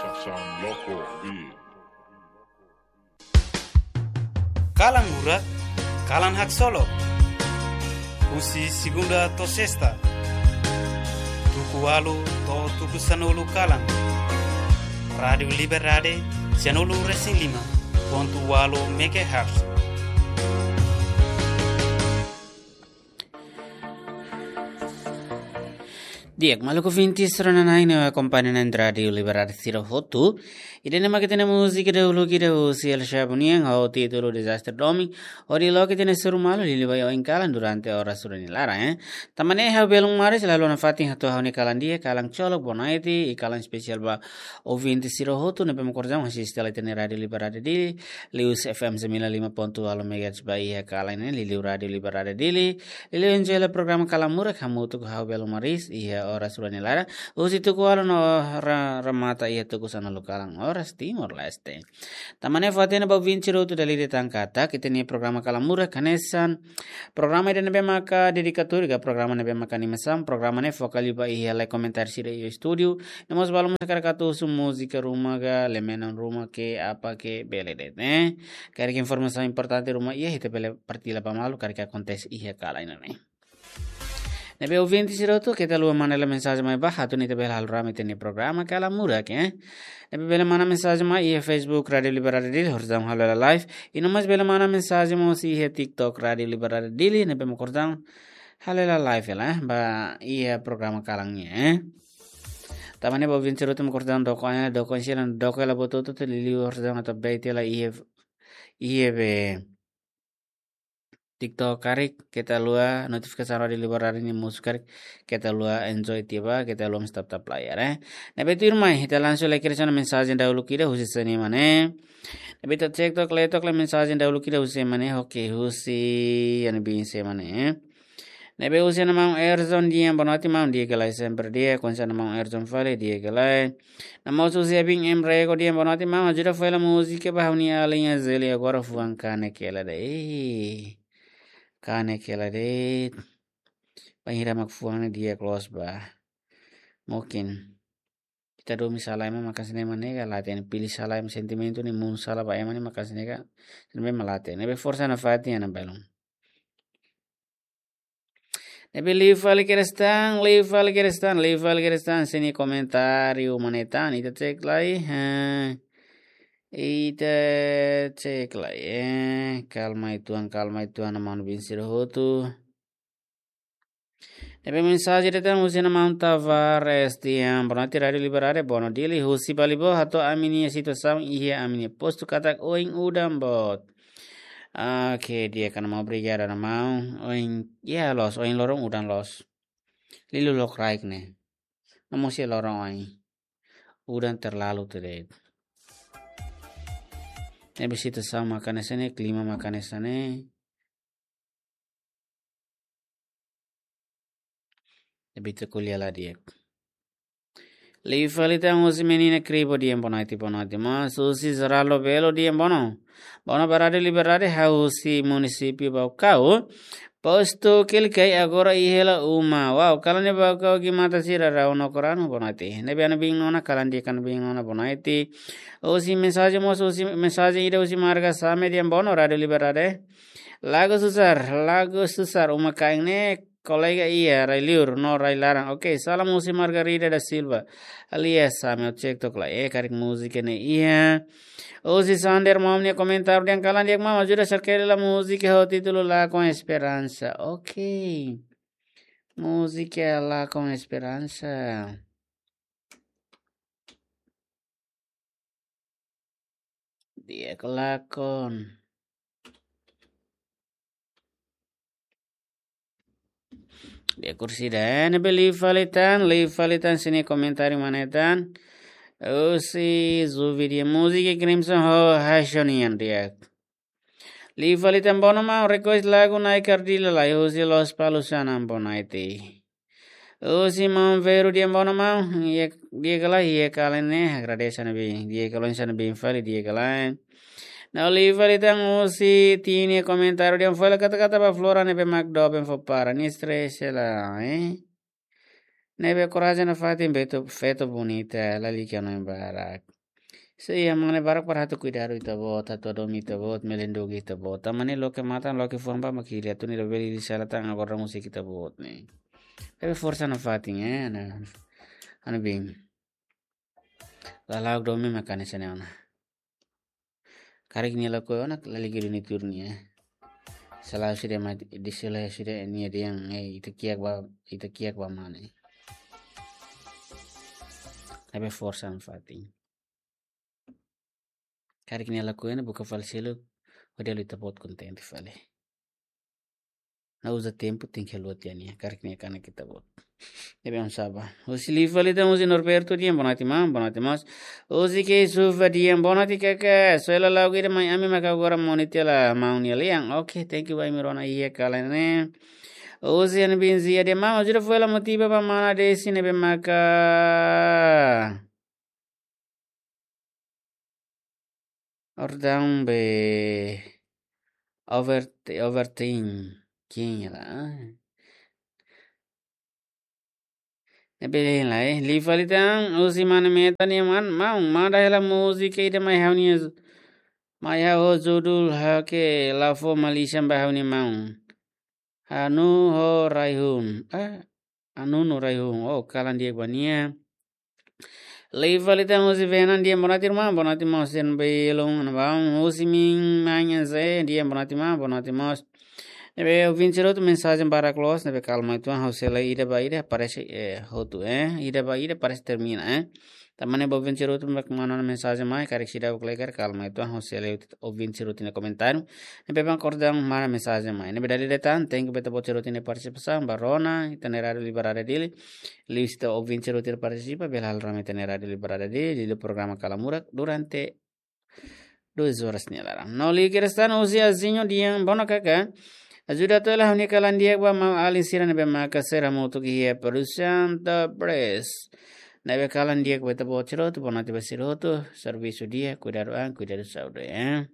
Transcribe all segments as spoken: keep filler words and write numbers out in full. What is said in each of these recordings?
Estasaun Loko Beat. Kalan Murak, kalan haksolok. Husi segunda to'o sesta, tuku ualu to'o tuku sanulu kalan. Rádiu Liberdade, sanulu resin lima pontu ualu megahertz. Di'ak, maluk ouvinte sira-ne'e ne'ebé akompaña Rádiu Liberdade sira hotu. Ida-ne'e mak ita-nia múzika dahuluk ida husi El Shabunian ho títulu Disaster Domi. Hodi loke ita-nia seru malu liuliu ba oin kalan durante oras rua nia laran, eh. Tanba ne'e ha'u belun maris la haluha nafatin hato'o ha'u-nia kalan di'ak, kalan ksolok, bonaiti, i kalan espesiál ba ouvinte sira hotu ne'ebé mak orsida asiste hela ita-nia Rádiu Liberdade Dili, liuhusi F M sembilan lima pontu ualu megahertz ba iha kalan ne'e, liuliu Rádiu Liberdade Dili, liuliu enjoy hela programa Kalan Murak hamutuk ho ha'u belun maris iha oras rua nia laran, husi tuku ualu no ra-, remata iha tuku sanulu kalan oras Timor-Leste. Tanba ne'e fó-hatene ba ouvinte sira hotu dala ida tan katak ita-nia programa Kalan Murak hanesan programa ida ne'ebé maka dedikatóriu ka programa ne'ebé maka animasaun, programa ne'e foka liu ba iha lai komentáriu sira iha estúdiu, no mós balu mós hakarak atu husu múzika ruma ka, lamenan ruma ke, apa ke, bele de'it, eh. Karik informasaun importante ruma iha, ita bele partilla ba malu karik akontese iha kalan ne'e. Ne'ebé ouvinte sira hotu, keta haluha manda hela mensajen mai ba, atu nune'e ita bele halo rame ita-nia programa Kalan Murak, eh. Ne'ebé bele manda mensajen mai iha Facebook Rádiu Liberdade Dili, orsida halo hela live. I no mós bele manda mensajen mós iha TikTok Rádiu Liberdade Dili, ne'ebé mak orsida halo hela live hela, eh, ba iha programa kalan ne'e, eh. Tanba ne'e ba ouvinte sira hotu mak orsida doko, eh, doko sira, doko hela buat hotu-hotu liuliu orsida atu update hela iha, iha be TikTok karik, keta haluha notifikasaun Rádiu Liberdade nia mosu karik, keta haluha enjoy tiha ba, keta haluha mós tap-tap layar, eh. Ne'ebé tuirmai, ita langsung lai kedas ona mensajen dahuluk ida husi sé nia mane. Ne'ebé ita cek took lai, took lai mensajen dahuluk ida husi sé nia mane, oke, husi ema ne'ebé sé nia mane, eh. Ne'ebé husi nia maun Erzon Dian, boa noite maun, di'ak ka lae, sempre di'ak, konsa nia maun Erzon fali, di'ak ka lae. No mós husi Abin M Rego Dian, boa noite maun, ajuda fó hela múzika ba ha'u-nia alin Azeli agora fuan kanek hela de'it. Ei, kanek hela de'it. Bainhira mak fuan ne'e di'ak loos ba. Mungkin ita domin sala ema maka sine manega la ten pilih sala ema sentimentu ne'e mun sala ba ema ne'e maka sine ka. Sine ema la ten. Ne'ebé forsa nafatin ona belun. Ne'ebé liu fali kedas tan, liu fali kedas tan, liu fali kedas tan, sé nia komentáriu mane tan, ita cek lai, eh. Ita cek lai, eh. Kalma uitoan, kalma uitoan, maun-bin sira hotu. Ne'ebé mensajen ida tan husi nia maun Tavares Dian, boa noite Rádiu Liberdade, boa noite Dili, husi Balibo, hato'o ami-nia situasaun iha ami-nia postu katak oin udan boot. Oke, di'ak ka maun, obrigadu maun. Oin, ya, loos, oin loron udan loos. Liuliu lokraik ne'e. No mós iha loron oin. Udan terlalu tede. Ne'ebé situasaun maka hanesan ne'e, klima maka hanesan ne'e. Ne'ebé ita ko'alia la di'ak. Liu fali tan husi menina Kribo Dian, boa noite, boa noite. Mós husi Geraldo Belo Dian, boa noite. Boa noite ba Rádiu Liberdade, ha'u husi munisípiu Baucau. Postu Kelikai agora iha hela uma. Wow, kalan iha Baucau gimata sira rau no koranu, boa noite. Ne'ebé ana-bin nona, kalan di'ak ka ana-bin nona, boa noite. Husi mensajen mós, husi mensajen ida husi marga Same Dian, boa noite Rádiu Liberdade. Lago Susar, Lago Susar, uma kain ne'e, kolega iha rai liur no rai laran. Oke, salam husi Margarida da Silva. Alias Same, ha'u cek took lai, eh, karik múzika ne'e iha. Husi Sander maun nia komentáriu dehan kalan di'ak maun, ajuda serkeli la múzika ho títulu Lakon Esperansa. Oke. Múzika Lakon Esperansa. Di'ak ka lakon. Di'ak orsida, eh, ne'ebé liu fali tan, liu fali tan sé nia komentáriu mane tan. Husi Zuvi Dian, múzika Crimson ho Haishonian di'ak. Liu fali tan bono maun, request lagu Na'i Kardila lai husi Lospalos, Sanan, boa noite. Husi maun Veru Dian, bono maun, iha, di'ak ka lae, iha kalan ne'e, agradese ne'ebé, di'ak ka lae, hanesan ne'ebé fali, di'ak ka lae. No liu fali tan husi Tini komentáriu dehan fó hela kata-kata ba Flora ne'ebé mak doben fó para nia stress hela, eh. Ne'ebé korajen nafatin, feto, feto bonita, lalika no barak. Sei iha mane barak para atu kuidadu ita-boot, atu hadomi ita-boot, melindungi ita-boot. Tanba ne'e loke matan, loke fuan ba mak hili, atu nune'e labele hili sala tan agora musik ita-boot ne'e. Ne'ebé forsa nafatin, eh, ana, ana bin. Lala'ok domin mak hanesan ne'e ona. Karik nia lakohi ona, lalika duni tuur nia. Selalu sudah mati, di sela sudah nia dehan, eh, ita kiak ba, ita kiak ba mane. Ne'ebé forsa nafatin. Karik nia lakohi ona, buka fali seluk, hodi halo ita-boot kontente fali. Nia uza tempu, tenke haluha tiha nia, karik nia kanek ita-boot. Ne'ebé oinsá ba. Husi Liu fali tan, husi Norberto dehan, boa noite maun, boa noite mós. Husi Keisufa dehan, boa noite kaka. Só hela la'o ida mai ami maka agora moni tiha hela maun nia lian. Oke, thank you ba imi rona iha kalan ne'e. Husi Ana Benzia dehan, maun, ajuda fó hela motiva ba mana Desi ne'ebé maka. Orden be over, overthinking lah. Ne'ebé lai, Liu fali tan, husi Mana Meta nia maun, maun, manda hela múzika ida mai ha'u-nia, mai ha'u judul ha'u ke la fó malisan ba ha'u-nia maun. Anu ho Raihun. Ah, Anu no Raihun. Oh, kalan di'ak ba nia. Liu fali tan husi Venan dehan boa noite irmã, boa noite mós, sejam bem-vindos, husi Min Manhã Zé dehan boa noite maun, boa noite mós. Ne'ebé ouvinte sira hotu mensajen barak loos, ne'ebé kalma uitoan, ha'u sei lee ida ba ida, parese, eh, hotu, eh, ida ba ida, parese termina, eh. Tanba ne'e ba ouvinte sira hotu mak manda mensajen mai, karik seidauk lee karik, kalma uitoan, ha'u sei lee ouvinte sira hotu nia komentáriu. Ne'ebé mak kordang manda mensajen mai. Ne'ebé dala ida tan, thank you ba ita-boot sira hotu nia partisipasaun, ba rona ita-nia Rádio Liberada Dili. Liuhusi ita ouvinte sira hotu nia partisipa, bele halo rame ita-nia Rádio Liberada Dili, liuliu programa Kalamurak durante duas horas nia laran. No liu kedas tan husi Azinho dehan, boa noite kaka. Ajuda atu hela ha'u-nia kalan di'ak ba maun-alin sira ne'ebé maka sira hamutuk iha produsaun Top Press. Ne'ebé kalan di'ak ba ita-boot sira hotu, boa noite ba sira hotu, servisu di'ak, kuidadu an, kuidadu saúde, eh.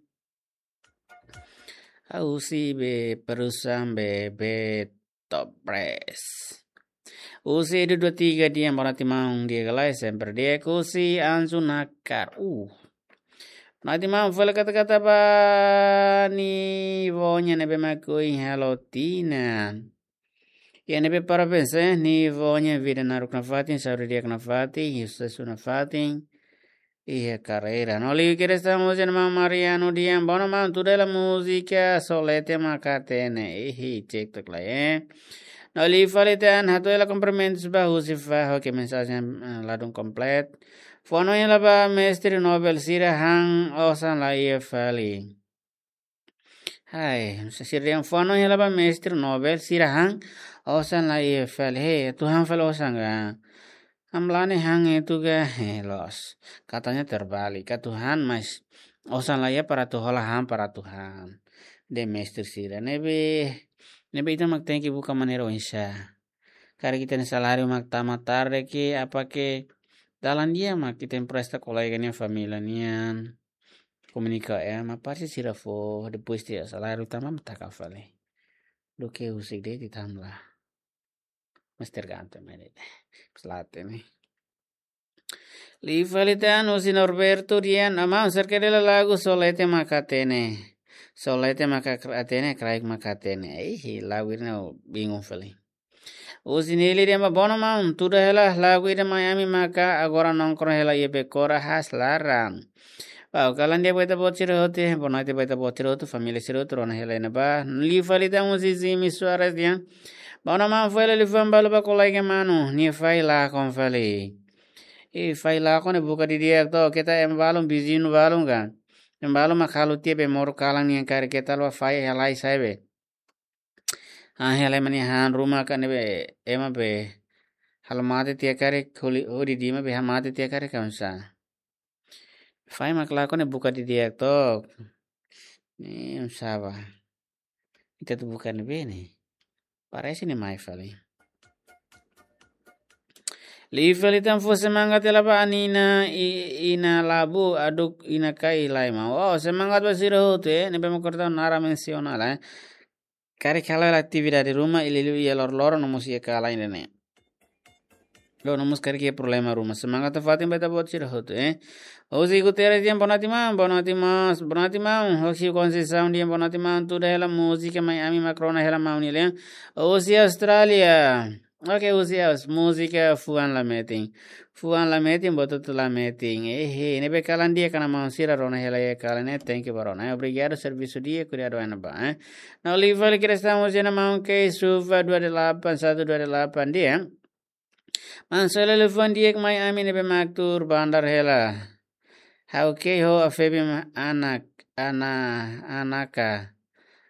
Husi be produsaun be, be Top Press. Husi Edu dua tiga dehan boa noite maun, di'ak ka lae, sempre di'ak, husi Anju Nakar. Uh. Boa noite maun, fó hela kata-kata ba Nivonya ne'ebé mak ohin halo tinan. Iha ne'ebé parabéns, eh, Nivonya, vida naruk nafatin, saúde di'ak nafatin, susesu nafatin iha karreira. No liu kedas tan husi maun Mariano dehan, boa noite maun, tuda hela múzika Solete Maka Hatene. Ihi, cek tok lai, eh. No liu fali tan, hato'o hela kumprimentus ba husi Faho ke mensajen, eh, ladún kompletu. Fó hanoin hela ba mestre Nobel sira han osan la iha fali. Hai, sira dehan fó hanoin hela ba mestre Nobel sira han osan la iha fali. He, atu han fali osan ka? Hamlaha ne'e han etu ka? He, loos. Katanya terbalik. Atu han, mas osan la iha para atu hola han, para atu han. Dehan mestre sira. Ne'ebé, ne'ebé ita mak tenke buka maneira oinsá. Karik ita-nia saláriu mak tama tarde ke, apa ke, dalan di'ak mak ita empresta kolega nian, família nian. Komunika ema, parese sira fó, depois tiha saláriu tama mak taka fali. Duké husik de'it ita hamlaha. Mas tergantung mai de'it. Selate ne'e. Liu fali tan husi Norberto dehan, maun, serke hela lagu Solete Maka Hatene. Solete Maka Hatene, kraik maka hatene. Ihi, lagu ida-ne'e bingung fali. Husi Nili dehan ba, boa noite maun, tuda hela lagu ida mai ami maka agora nongkrong hela iha Bekora haas laran. Wow, kalan di'ak ba ita-boot sira hotu, boa noite ba ita-boot sira hotu, família sira hotu, rona hela iha ne'ebá. Liu fali tan husi Zimi Soares dehan, boa noite maun, fó hela liafuan balu ba kolega manu, nia fahi lakon fali. E fahi lakon ne'e buka didi'ak to, keta ema balun, viziñu balun ka. Ema balun mak halo tiha be moru kalan nian karik keta la fahi halai sai be. Ah, hela ema nia han ruma ka ne'ebé ema be halo mate tiha karik, hodi, hodi dima be halo mate tiha karik ka oinsá. Fahi mak lakon ne'e buka didi'ak tok. Ne'e oinsá ba. Ita atu buka ne'ebé ne'e. Parese ne'e mai fali. Liu fali tan fó semangat hela ba Anina i, Ina Labu, aduk Ina Kai Laima. Wow, semangat ba sira hotu, eh. Ne'ebé mak kordang naran mensiona lai, eh. Karik halo hela atividade ruma, liuliu iha loroloron no mós iha kalan ida-ne'e. Lo no mós karik iha problema ruma. Semangat nafatin ba ita-boot sira hotu, eh. Osi Guterres dehan boa noite maun, boa noite mós, boa noite maun. Osi Conceição dehan boa noite maun, tuda hela múzika mai ami mak rona hela maun nian. Osi Austrália. Oke, osi Aus, múzika fuan la metin. Fuan la metin, buat hotu la metin. Ehe, ne'ebé kalan di'ak ona maun sira rona hela iha kalan ne'e, thank you ba rona. Eh, obrigadu, servisu di'ak, kuidadu ona ba, eh. No live fali Cristão, osi ona maun ke suva dua delapan, satu dua delapan dehan. Maun Sele liafuan di'ak mai ami ne'ebé mak tuur bandar hela. Ha'u ke ho afebe ma anak, ana, anaka.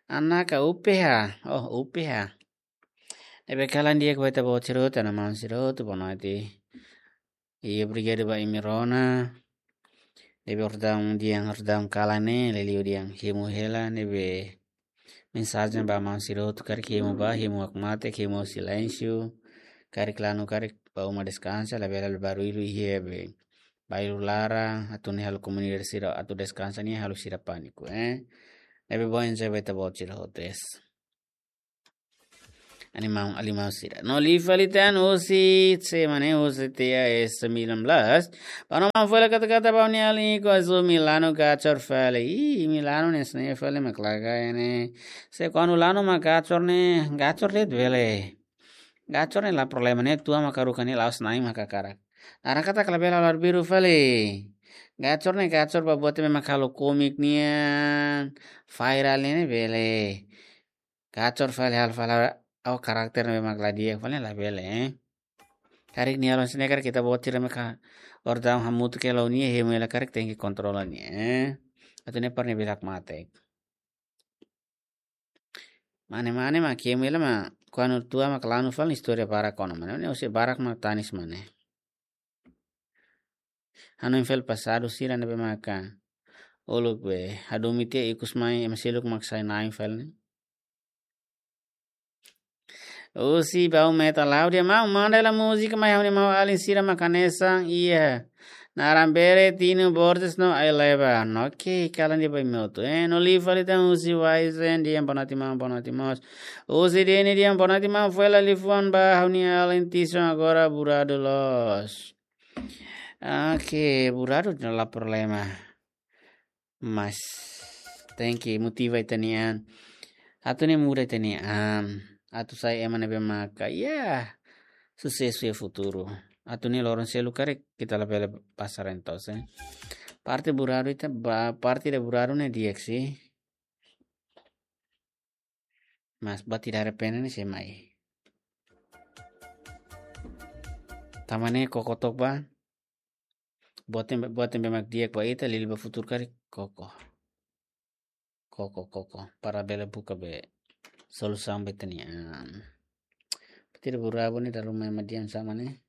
Anaka upeha. Oh, upeha. Ne'ebé kalan di'ak ba ita-boot sira hotu, ana maun sira hotu, boa noite. Io, obrigadu ba imi rona. Ne'ebé orsida dehan, orsida kalan ne'e, liuliu dehan hemu hela, ne'ebé mensajen ba maun sira hotu, karik hemu ba, hemu hakmatek, hemu silénsiu, karik lanu, karik ba uma deskansa, labele halo barullu iha be bairru laran, atu nune'e halo komunidade sira atu deskansa nian, halo sira pániku, eh. Ne'ebé bom enjoy ba ita-boot sira hotu, es. Animaun, animaun sira. No live fali tan osi, se mane osi T A S sembilan belas. Ba no maun fali kata-kata ba uni alin ko azu Milano gacor fali. Ih, Milano ne'e sne fali mak laga ne'e. Se kuandu lanu mak gacor ne'e, gacor de'it bele. Gacor ne'e la problema ne'e, tua mak haruka ne'e la'ós na'in mak hakarak. Naran katak labele halo arbiru fali. Gacor ne'e gacor ba buat ne'ebé mak halo komik nian, viral ne'e bele. Gacor fali halo fali ha'u karakter ne'ebé mak la di'ak fali labele, eh. Karik nia lon sne karik ita-boot sira mak orsida hamutuk hela nia, hemu hela karik tenke kontrola nia, eh. Atu nune'e para nia bele hakmatek. Mane-mane mak hemu hela mak kuandu tua mak lanu fali istória barak ona mane. Mane osi barak mak tanis mane. Hanoin fali pasadu sira ne'ebé maka uluk be hadomi tiha ikus mai ema seluk mak sai na'in fali ne'e. Osi bau meta laudia mau manda hela múzika mai ha'u-nia maun alin sira mak hanesan iha. Naran Bere, Tino Borges no Aileba. Oke, kalan di'ak ba imi hotu. Eh, no live fali tan osi Waisen dehan boa noite maun, boa noite mós. Osi Deni dehan boa noite maun, fó hela liafuan ba ha'u-nia alin Tison agora buradu loos. Oke, buradu la problema. Mas tenke motiva ita-nia an. Atu nune'e muda ita-nia an. Atu sai ema ne'ebé maka, ya, susesu iha futuru. Atu nune'e loron seluk karik ita labele pasar entos, eh. Parte buradu ita, ba-, parte ida buradu ne'e di'ak, sih. Mas buat ida arrepende ne'e sei mai. Tanba ne'e koko took ba. Buat ne'ebé, buat ne'ebé mak di'ak ba ita, liuliu ba futuru karik koko. Koko, koko. Para bele buka be solusaun ba ita-nia an. Buat ida buradu ne'e dala ruma ema dehan sá mane.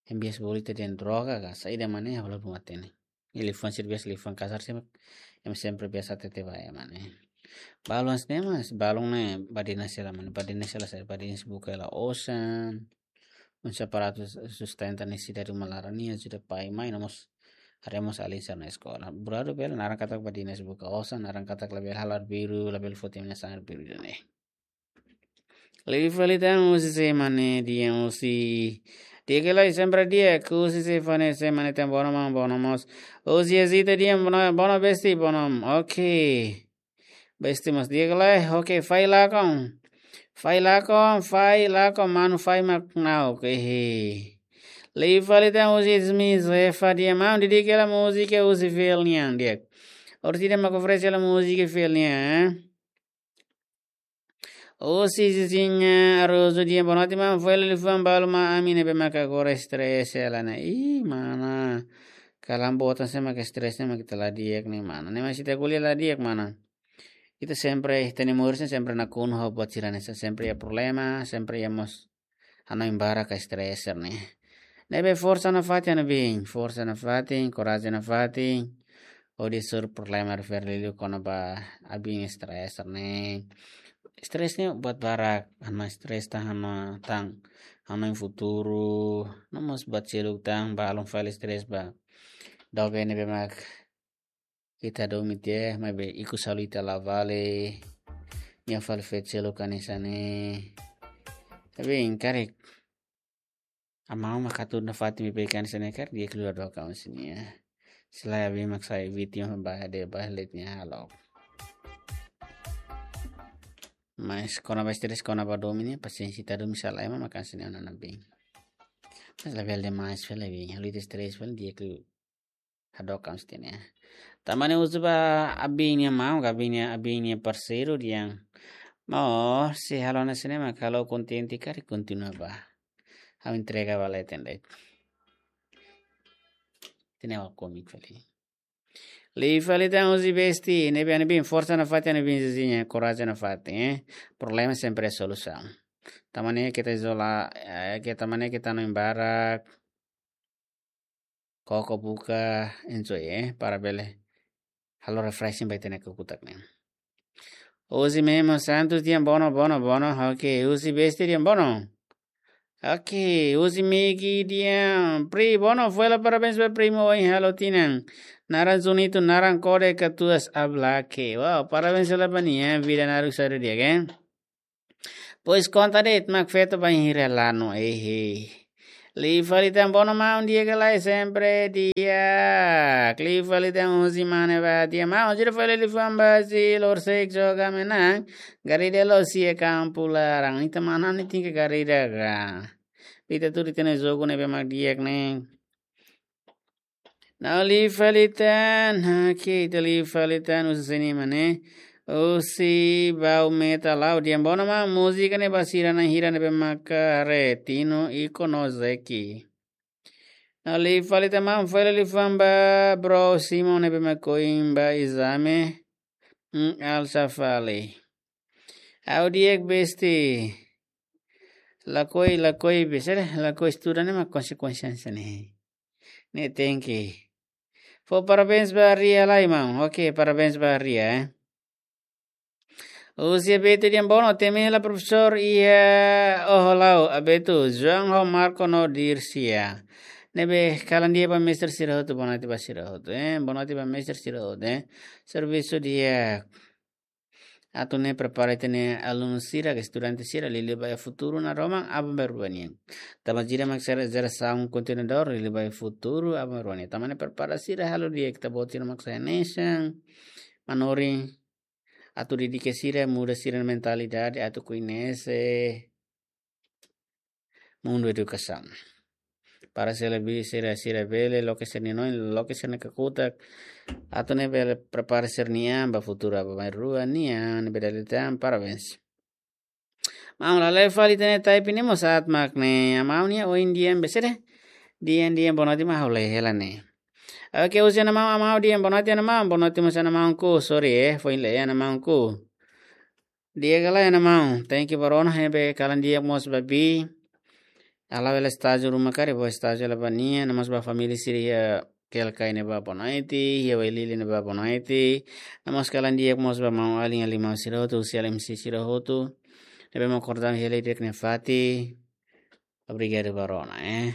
Ema biasa bolu ita dehan droga ka, saida mane, halo ruma tene. Liafuan sira biasa liafuan kasar sih, ema sempre biasa hatete ba ema ne'e. Balun sne mas, balun ne'e badinas hela mane, badinas hela sai, badinas buka hela osan. Oinsá para atu sustenta nesesidade uma laran nian, ajuda pai mai, no mós haree mós alin sira-nia eskola. Buradu bele, naran katak badinas buka osan, naran katak labele halo arbiru, labele foti ema nia sasán arbiru ida-ne'e. Live fali tan osi se mane dehan osi. Di'ak ka lae, sempre di'ak, osi se fane se mane tan bono maun, bono mós. Osi Azita dehan bono, bono besti, bono. Oke. Besti mós di'ak ka lae, oke, fai lakon. Fai lakon, fai lakon, manu fai mak na'ok, ehe. Live fali tan osi Ismi Zefa dehan maun, di'ak ka lae múzika osi fiel nian, di'ak. Orsida mak oferese hela múzika fiel nian, eh. Osi Zizinha Arozu dehan boa noite maun, fó hela liafuan balu mai ami ne'ebé maka agora estrese hela ne'e. Ih, mana. Kalan boot hanesan mak estrese ne'e mak ita la di'ak ne'e mana. Ne'e mak ita ko'alia la di'ak mana. Ita sempre, ita-nia moris ne'e sempre nakonu ho buat sira hanesan, sempre iha problema, sempre iha mós hanoin barak ka estrese ne'e. Ne'ebé forsa nafatin, ana bin, forsa nafatin, korajen nafatin. Hodi hasoru problema refere liu kona-ba abin estrese ne'e. Estrese ne'e buat barak, hanoin estrese tan, hanoin tan, hanoin futuru, no mós buat seluk tan, balun fali estrese ba. Doben ne'ebé mak ita domin tiha, maibé ikus halo ita la vale. Nia fali feto seluk hanesan ne'e. Tapi karik. Amau mak hatudu nafatin beibeik hanesan ne'e karik di'ak liu hadook an sini ya. Selae abin mak sai vítima ba de ba let nia halo. Mas kona-ba stress kona-ba domin ne'e pasiénsia ita domin sala ema mak hanesan ne'e ona abin. Mas labele demais fali abin. Halo ita stress fali di'ak liu hadook an sini ya. Tanba ne'e husu ba abin nia maun, ka abin nia, abin nia parseiru dehan: Maun, se halo hanesan ne'e mak ha'u kontente karik kontinua ba. Ha'u entrega ba leten de'it. Ida-ne'e ha'u komik fali. Liu fali tan husi besti, ne'ebé ami-nia bin forsa nafatin, ami-nia bin Zezinha, korajen nafatin, eh. Problema sempre solusaun. Tanba ne'e keta izola, eh, ke tanba ne'e keta hanoin barak. Koko buka, enjoy, eh, para bele halo refreshing ba ita-nia kakutak ne'e. Husi Memo Santos dehan bono, bono, bono. Oke, husi besti dehan bono. Oke, husi Megi dehan: Pri, bono, foin hela parabéns ba primu ohin halo tinan. Naran Zunito, naran kode katuas ablake. Wow, parabéns hela ba nia, vida naruk saida di'ak, eh. Pois konta de'it mak feto bainhira lanu, ehe. Liu fali tan bono maun, di'ak ka lae? Sempre di'ak. Liu fali tan husi mane ba dehan: Maun, jira fali liafuan ba si lorsek joga menan. Garida loos iha kampu laran. Ita mana ni tingka garida ka. Ita tuur ita-nia jogu ne'ebé mak di'ak ne'e. Nah, liu fali tan, oke, ita liu fali tan husi sini mane. Husi Bau Meta Lau dehan bono maun, múzika ne'e ba sira na'in hira ne'ebé maka haree, Tino, Iko no Zeki. Nah, liu fali tan maun, foin hela liafuan ba bro Simon ne'ebé mak ohin ba ezame. Hmm, alsa fali. Ha'u di'ak besti. Lakohi, lakohi besti, lakohi estuda ne'e mak konsekuénsia hanesan ne'e. Ne'e tenke. Fó parabéns ba Ria lai maun. Oke, parabéns ba Ria, eh. Husi Abeto dehan bono, temi hela profesór iha Oho Lau, Abeto, João ho Marco no Dircia. Ne'ebé kalan di'ak ba mestre sira hotu, bonoite ba sira hotu, eh. Bonoite ba mestre sira hotu, eh. Servisu di'ak. Atu ne'e prepara ita-nia alunu sira, ka estudante sira, liuliu ba iha futuru naroman aban-bainrua nian. Tanba sira mak sira jerasaun kontinuadór, liuliu ba iha futuru aban-bainrua nian. Tanba ne'e prepara sira halo di'ak, ita-boot sira mak sai hanesan manorin, atu dedika sira, muda sira-nia mentalidade, atu koñese mundu edukasaun. Para sira be-, sira, sira bele loke sira-nia noin, loke sira-nia kakutak. Atu ne'e bele prepara sira-nia an ba futuru aban-bainrua nian, ne'ebé dala ida tan, parabéns. Maun, la la'o fali ita-nia type ne'e mós aat mak ne'e. Maun nia ohin dehan besede. Dehan, dehan bonoite mak ha'u lee hela ne'e. Oke, husi Ana Maun Amau dehan bonoite Ana Maun, bonoite mós Ana Maunku, sorry, eh, foin lee Ana Maunku. Di'ak ka lae Ana Maun, thank you ba rona, ne'ebé kalan di'ak mós ba bi. Halo hela estájiu ruma karik, bá estájiu hela ba nia, no mós ba família sira iha Kelkai ne'ebá bonoite, iha Wailili ne'ebá bonoite. No mós kalan di'ak mós ba maun-alin, alin-maun sira hotu, husi L M C sira hotu. Ne'ebé mak kordang hela di'ak nafatin. Obrigadu ba rona, eh.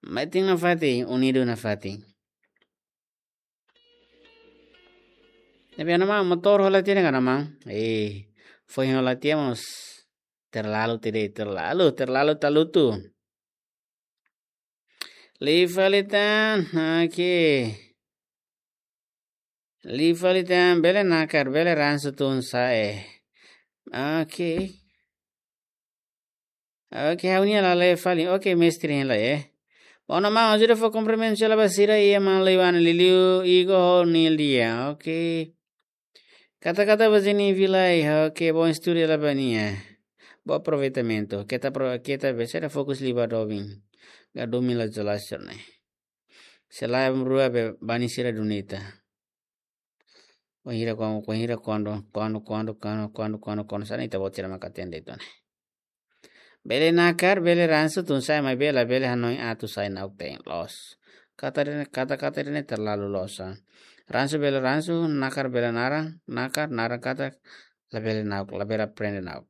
Metin nafatin, unidu nafatin. Ne'ebé Ana Maun, motór hola tiha ka Ana Maun? Eh, foin hola tiha mós terlalu tede, terlalu, terlalu talutu. Liu fali tan, oke. Liu fali tan, bele nakar, bele ransu tun sa'e. Oke. Oke, ha'u-nia la lee fali. Oke, mestre hein lai, eh. Bono maun, ajuda fó kumprimentu hela ba sira iha Manleuana, liuliu Igo ho Nildia. Oke. Katak-katak ba Zeni Vilai, oke, bom estudu hela ba nia. Bom aproveitamentu. Keta pro-, keta besede fokus liu ba domin. Ka domin la jelas ne'e. Se lae aban-bainrua be bani sira duni ita. Wainhira kuan-, wainhira kuandu, kuandu, kuandu, kuandu, kuandu, kuandu, kuandu, sá ne'e ita-boot sira maka hatene de'it ona. Bele nakar, bele ransu tun sa'e, maibé labele hanoin atu sai na'ok-teen, loos. Katak ida-ne'e, katak-katak ida-ne'e terlalu loos, ah. Ransu bele ransu, nakar bele naran, nakar, naran katak, labele na'ok, labele aprende na'ok.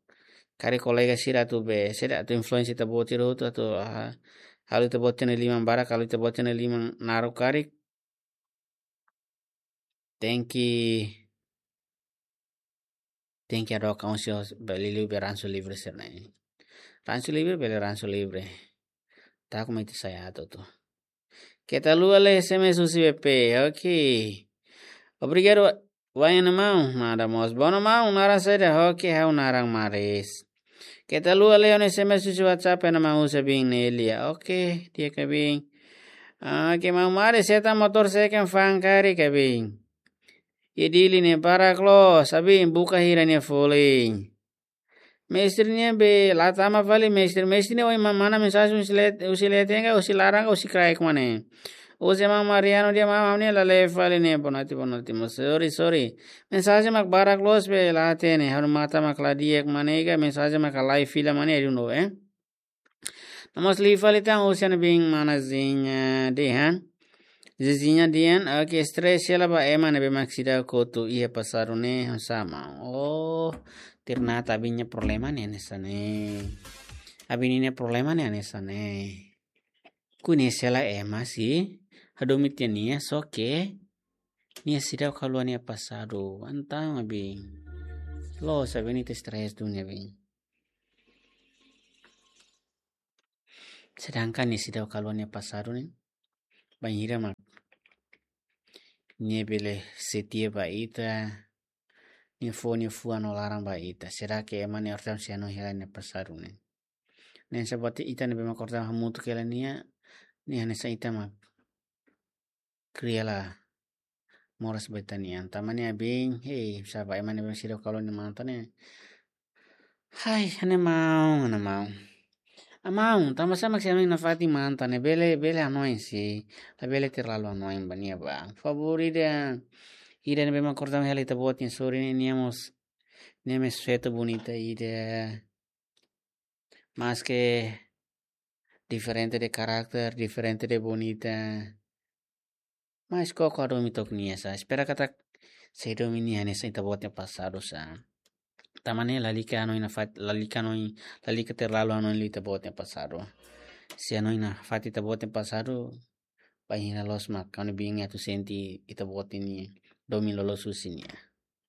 Karik kolega sira atu be, sira atu influensia ita-boot sira hotu atu, ah, halo ita-boot sira-nia liman barak, halo ita-boot sira-nia liman naruk karik. Tenke, tenke hadook an husi, husi, bele liu be ransu livre sira-ne'e. Ransu livre, bele ransu livre. Tauk mai ita sai atu tu. Keta haluha lee S M S husi B P, oke. Obrigadu, Wayne maun, nada mós. Bono maun, naran saida, oke, ha'u naran Maris. Keta haluha lee S M S husi WhatsApp, ema husi Abin Nelia. Oke, di'ak Abin. Oke, maun Maris, seta motór seken fa'an karik Abin. Iha Dili ne'e barak loos, Abin, buka hira nia folin. Mestre nian be la tama fali, mestre, mestre ne'e ohin manán mensajen husi let-, husi leten ka, husi laran ka, husi kraik mak ne'e. Husi maun Mariano dehan maun, ha'u-nia la lee fali ne'e, bonoite, bonoite, maun, sorry, sorry. Mensajen mak barak loos be la hatene, ha'u-nia matan mak la di'ak mak ne'e ka, mensajen mak halai fila mak ne'e, I don't know, eh. Nomós liu fali tan husi ami-nia mana Zinya dehan. Zinya dehan, oke, stress hela ba ema ne'ebé mak seidauk kotu iha pasadu ne'e, hanesan maun. Oh, ternyata Abin nia problema ne'e hanesan ne'e. Abin nia problema ne'e hanesan ne'e. Koñese hela ema sei hadomi tiha nia, só ke nia seidauk haluha nia pasadu. Entaun Abin, loos, Abin ita stress duni, Abin. Sedangkan nia seidauk haluha nia pasadu ne'e, bainhira mak nia bele setia ba ita, nia fó nia fuan no laran ba ita. Será ke ema ne'e orsida sei hanoin hela nia pasadu ne'e? Ne'e hanesan buat ita ne'ebé mak orsida hamutuk hela nia, nia hanesan ita mak kria la moras ba ita-nian. Tanba ne'e Abin, hei, sá ba ema ne'ebé seidauk haluha nia matan ne'e. Hai, ha'u-nia maun, ha'u-nia maun. Maun, tanba sá mak sei hanoin nafatin matan ne'e, bele, bele hanoin sei, labele terlalu hanoin ba nia ba. Favór ida, ida ne'ebé mak orsida hela ita-boot nia sorin ne'e, nia mós, nia mós feto bonita ida. Maske diferente de karakter, diferente de bonita. Mas koko hadomi took nia sá. Espera katak sei hadomi nia hanesan ita-boot nia pasadu sá. Tanba ne'e lalika hanoin nafatin, lalika hanoin, lalika terlalu hanoin liu ita-boot nia pasadu. Se hanoin nafatin ita-boot nia pasadu, bainhira loos mak ha'u-nia Abin atu sente ita-boot nia domin loloos husi nia.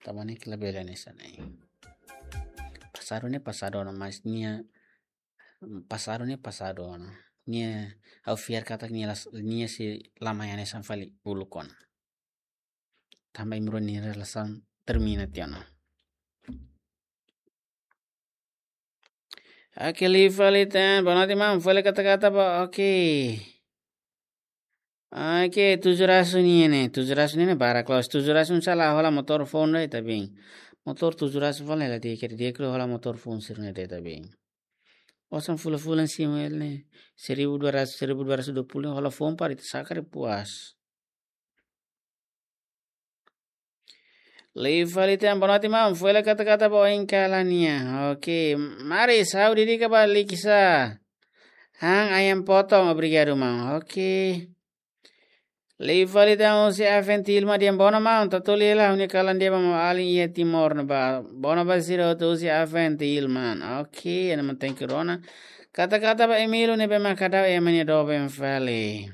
Tanba ne'e labele hanesan ne'e. Pasadu ne'e pasadu ona, mas nia, pasadu ne'e pasadu ona. Nia, ha'u fiar katak nia las-, nia sei la mai hanesan fali uluk ona. Tanba imi rua nia relasaun termina tiha ona. Oke, liu fali tan, bonoite maun, fó hela kata-kata ba, oke. Oke, tujuh ratus nian ne'e, tujuh ratus nian ne'e barak loos, tujuh ratus ne'e sala hola motór foun de'it Abin. Motór tujuh ratus fali la di'ak, di'ak liu hola motór foun sira-ne'e de'it Abin. Osan fulan-fulan simu hela ne'e, seribu dua ratus, seribu dua ratus dua puluh hola foun para ita saka depois. Liu fali tan, bonoite maun, fó hela kata-kata ba oin kalan nian. Oke, Maris, ha'u dedika ba Likisa. Han ayam potong, obrigadu maun. Oke. Liu fali tan husi Aven Tilma dehan bono maun, tatoli hela ha'u-nia kalan dehan ba maun-alin iha Timor ne'ebá. Bono ba sira hotu husi Aven Tilma. Oke, ema thank you ona. Kata-kata ba Emílio ne'ebé mak hadau ema nia doben fali.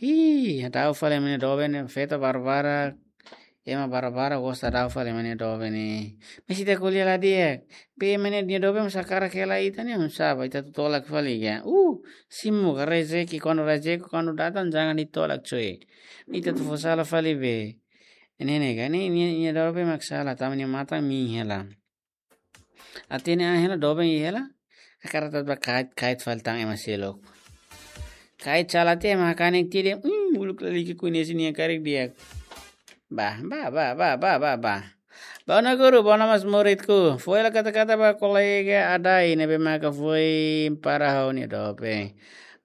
Ih, hadau fali ema nia doben ne'e, feto barak-barak, ema barak-barak gosta hadau fali ema nia doben ne'e. Mas ita ko'alia la di'ak. Be ema nia doben mak sakarak hela ita ne'e, oinsá ba ita atu tolak fali ka? Uh, simu ka rezeki, kuandu rezeki kuandu datang jangan ditolak coy. Ita atu fó sala fali be. Ne'e ne'e ka, ne'e nia, nia doben mak sala, tanba nia matan miin hela. Hatene an hela, doben iha hela. Hakarak tau ba kait, kait fali tan ema seluk. Kait sala tiha ema hakanek tiha dehan, hmm, uluk lalika koñese nia karik di'ak. Ba, ba, ba. Bono guru, bono mós muridku. Fó hela kata-kata ba kolega Adai ne'ebé maka foin para ha'u-nia doben.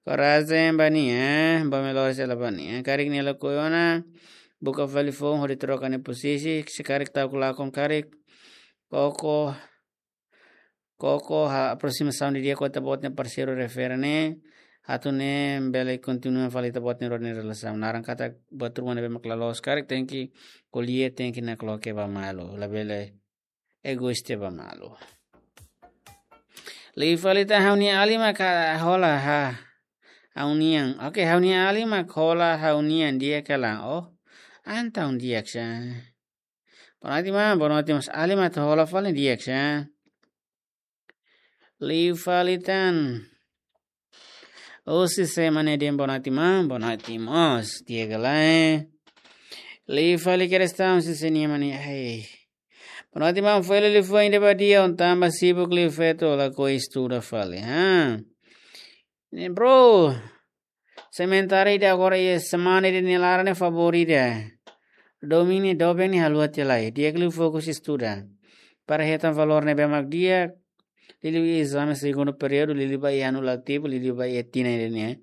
Korajen ba nia, ba melhor sela ba nia. Karik nia lakohi ona, buka fali foun hodi troka nia posisi, se karik ta'uk lakon karik. Koko, koko, ha, aproximasaun didi'ak ho ita-boot nia parseiru refere ne'e, atu nune'e bele kontinua fali ita-boot nia rona nia relasaun. Naran katak buat ruma ne'ebé mak la loos karik tenke ko'alia, tenke nakloke ba malu. Labele egoísta ba malu. Liu fali tan, ha'u-nia alin mak hola ha'u-nian. Oke, ha'u-nia alin mak hola ha'u-nian, di'ak ka lae? Oh, entaun di'ak sá. Bonoite maun, bonoite maun, alin mak hola fali, di'ak sá. Liu fali tan. Husi sé mane dehan boa noite maun, boa noite mós. Di'ak ka lae? Liu fali kere estaun si senia mane. Ai. Boa noite maun, foin liu foin de badia, um tanba sibuk liu feto lakohi estuda fali. Ha. Ne'e bro. Sementara ida agora iha semana ida-ne'e laran ne'e favór ida. Domingu ne'e doben ne'e haluha tiha lai. Di'ak liu fokus estuda. Para hetan valór ne'ebé mak di'ak. Liuliu ezame segundu períodu, liuliu ba iha ano letivu, liuliu ba iha tinan ida-ne'e.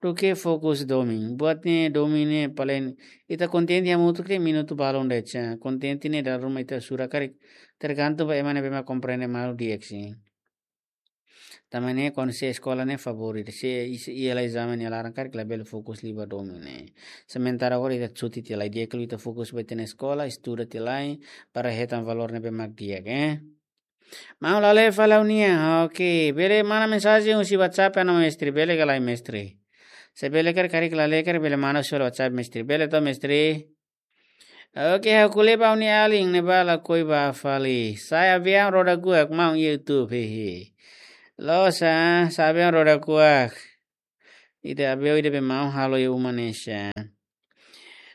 Duké fokus domingu. Buat ne'e domingu ne'e paling ita kontente hamutuk de'it minutu balun de'it. Kontente ne'e dala ruma ita sura karik. Tergantung ba ema ne'ebé mak komprende malu di'ak sin. Tanba ne'e kuandu sé eskola ne'e favór ida, sé iha, iha ezame ne'e laran karik labele fokus liu ba domingu ne'e. Sementara agora ita cuti tiha lai, di'ak liu ita fokus ba ita-nia eskola, estuda tiha lai, para hetan valór ne'ebé mak di'ak, eh. Maun, la lee fali ha'u-nian, oke, bele manda mensajen husi WhatsApp ona mestre, bele ka lae mestre? Se bele karik, karik la lee karik bele manda husi WhatsApp mestre, bele to mestre? Oke, ha'u ko'alia ba ha'u-nia alin ne'ebá lakohi bá fali. Sa'e aviaun roda kuak maun iha YouTube, hehe. Loos, sa'e aviaun roda kuak. Ida aviaun ida be maun halo iha uma ne'e sá.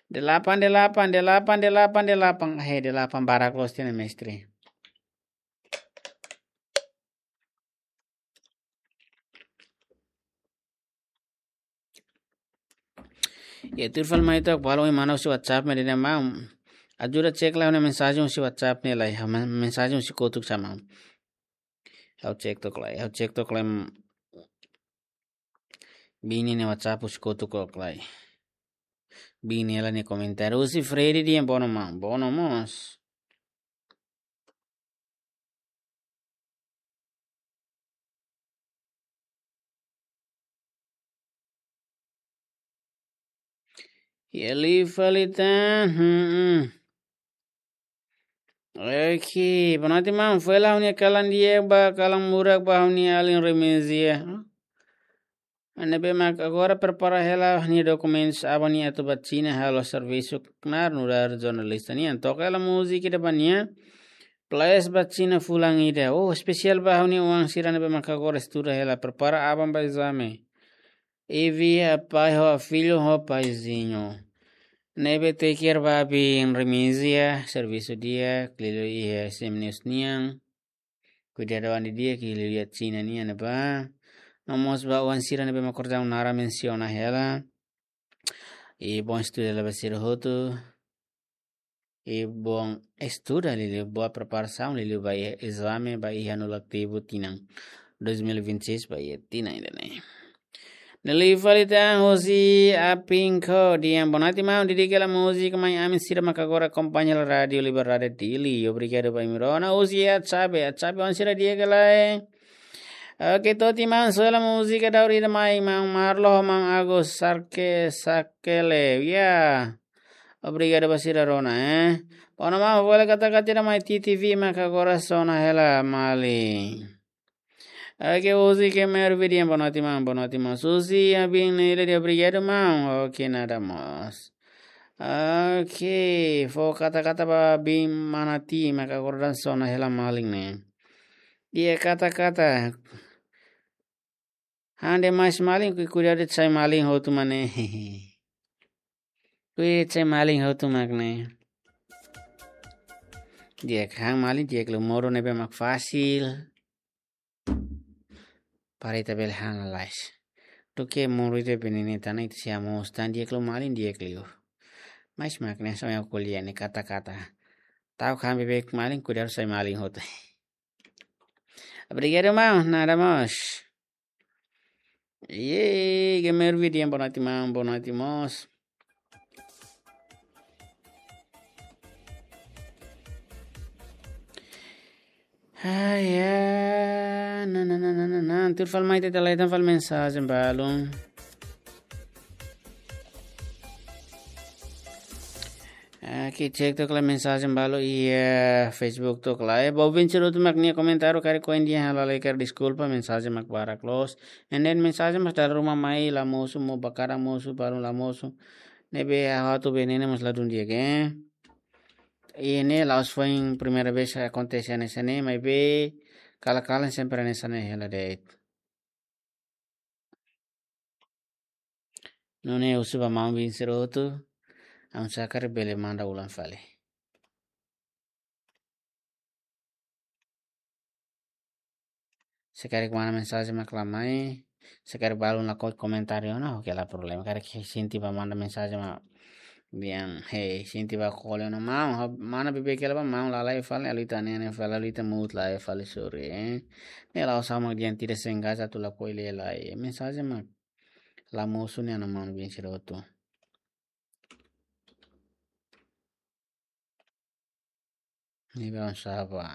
Delapan, delapan, delapan, delapan, delapan. He, delapan barak loos tiha ona mestre. Ya, tuir fali mai to'ok, balun manda husi WhatsApp ne'e dehan maun. Ajuda cek lai ha'u-nia mensajen husi WhatsApp ne'e lai, ha, men-, mensajen husi kotuk sá maun. Ha'u cek to'ok lai, ha'u cek to'ok lai, mm, biin ne'e nia WhatsApp husi kotuk to'ok lai. Biin ne'e hela nia komentáriu. Husi Freddy dehan bono maun, bono mós. Ya liu fali tan, hmm, hmm. Oke, boa noite maun, foin lai ha'u-nia kalan di'ak ba, kalan murak ba ha'u-nia alin Remezia. Ne'ebé mak agora prepara hela nia dokumentus aban nia atu ba Xina halo servisu knaar nu'udar jornalista nian. Toka hela múzika ida ba nia. Plus ba Xina fulan ida. Oh, espesiál ba ha'u-nia oan sira ne'ebé mak agora estuda hela, prepara aban ba ezame. Evi, apai ho filho ho paizinho. Ne'ebé take care ba biin Remezia, servisu di'ak, liuliu iha S M News nian. Kuidadu an didi'ak liuliu iha Xina nian ne'ebá. No mós ba oan sira ne'ebé mak orsida naran mensiona hela. I bom estuda lai ba sira hotu. I bom estuda liuliu, boa preparasaun liuliu ba iha ezame, ba iha ano letivu tinan dois mil e vinte e seis ba iha tinan ida-ne'e. Ne'e liu fali tan husi Apinko dehan boa noite maun, dedika hela múzika mai ami sira mak agora akompaña hela Rádiu Liberdade Dili. Obrigadu ba imi rona. Husi Atsabe, Atsabe oan sira di'ak ka lae? Oke, Toti maun, soe hela múzika daur ida mai, maun Marlo, maun Agus, Sarke, Sakele. Ya. Obrigadu ba sira rona, eh. Bono maun, bele kata-kata ida mai T T V mak agora sona hela malin. Oke, husi Kemer Vidian, boa noite maun, boa noite maun. Husi Abin ne'e dehan obrigadu maun. Oke, nada mós. Oke, fó kata-kata ba biin Manati mak agora sona hela malin ne'e. Di'ak kata-kata. Han demais malin, kui-, kuidadu sai malin hotu mak ne'e. Kui sai malin hotu mak ne'e. Di'ak han malin, di'ak liu modo ne'ebé mak fasil. Para ita bele han lalais. Duké modo ita bele ne'e tan ita sei hamoos tan di'ak liu malin di'ak liu. Mais mak ne'e só yang kuliah ne'e kata-kata. Ta'uk han beibeik malin kuidadu sai malin hotu. Obrigadu maun, nada mós. Yeay, Gamer Vidian, boa noite maun, boa noite mós. Ai, ya, na, na, na. Tuir fali mai ita la hetan fali mensajen balun. Oke, cek to'ok lai mensajen balu iha Facebook to'ok lai. Ba ouvinte sira hotu mak nia komentáriu karik ohin dehan ha'u la lee karik deskulpa, mensajen mak barak loos. And then mensajen mak dala ruma mai la mosu, mós ba kadang mosu, balun la mosu. Ne'ebé ha'u atu bele ne'e mós ladún di'ak, eh. Ida-ne'e la'ós foin primeira vez akontese hanesan ne'e, maibé kalan-kalan sempre hanesan ne'e hela de'it. Nune'e husu ba maun biin sira hotu, oinsá karik bele manda ulang fali. Se karik manda mensajen mak la mai, se karik balun lakohi komentáriu ona, oke, la problema. Karik sente ba manda mensajen mak biin, hei, sente ba kole ona, maun, ha, manda beibeik hela ba maun, lalai fali, ha'u ita nene fali, ha'u ita muut lai fali, sorry, eh. Ne'e la'ós ha'u mak di'ak, tidak sengaja atu lakohi lee lai. Mensajen mak la mosu ne'e ona, maun biin sira hotu. Ne'ebé oinsá ba.